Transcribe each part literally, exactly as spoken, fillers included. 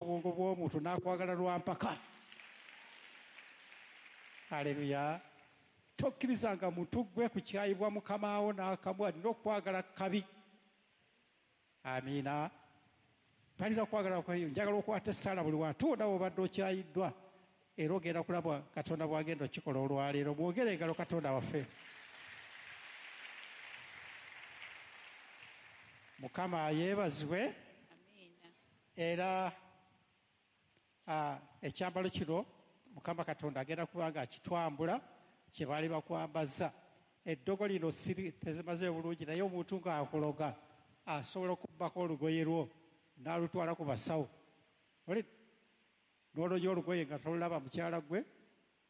Obwongo bw'omuntu n'akwagala lwa mpaka. Aleluya. Tokkirizanga muntu gwe kukyayibwa mukamaawo n'akamwa, nina okwagala kabi. Amiina. Balina okwagala kwayo. Njagala okwata essala buli wantu wonna w'obadde okyayiddwa, era ogenda kulaba Katonda bw'agenda okikola olwaleero. Mwogere engalo Katonda waffe. Mukama yeebazibwe. Era ekyambalo kino Mukama Katonda agenda kuba nga akitwambula kye baali bakwambaza. Eddogo lino siri tezimaze bulungi, naye omuntu ng'akuloga asobola okubbako olugoye lwo n'alutwala ku basawo. N'olonyo olugoye nga tolulaba mukyala gwe,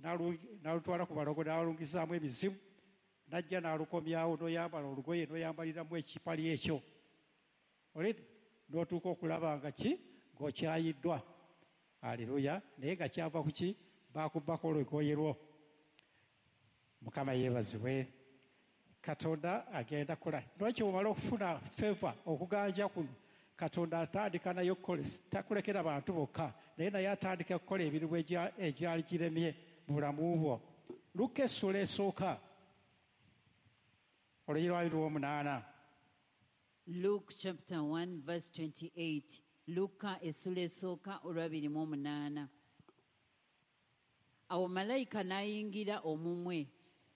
n'alutwala ku balogo n'alungizaamu emizimu, n'ajja n'alukomyawo n'oyambala olugoye n'oyambaliramu ekipali ekyo. N'otuuka okulaba nga ki ng'okyayiddwa. Aleluya. Naye nga kyava ku ki? Baakubbako olugoye lwo. Mukama yeebazibwe. Katonda agenda kukola. Lwaki bw'omala okufuna favor okuganja kuno, Katonda atandika naye okukola, takulekera bantu bokka, naye naye atandika okukola emirimu egyali giremye mu bulamu bwo. Luka essula esooka olunyiriri lwa abiri mu omunaana. Luke chapter one verse twenty-eight. Luka essula esooka olw'abiri mu omunaana. Awo malayika n'ayingira omumwe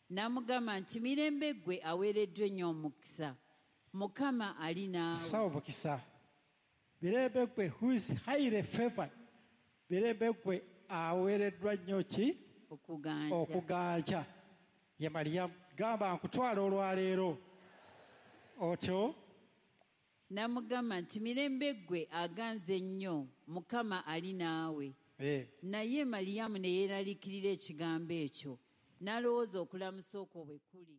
n'amugamba nti mirembe ggwe aweereddwa ennyo omukisa, Mukama ali naawe. Sawa omukisa. Mirembe ggwe who is highly favored. Mirembe ggwe aweereddwa nnyo ki? Okuganja. Okuganja. Ye Mariyamu gamba nkutwala olwaleero. Otyo n'amugamba nti mirembe ggwe aganze nnyo, Mukama ali naawe. Eh. Naye Mariyamu ne yeeraliikirira ekigambo ekyo, n'alowooza okulamusa okwo bwe kuli.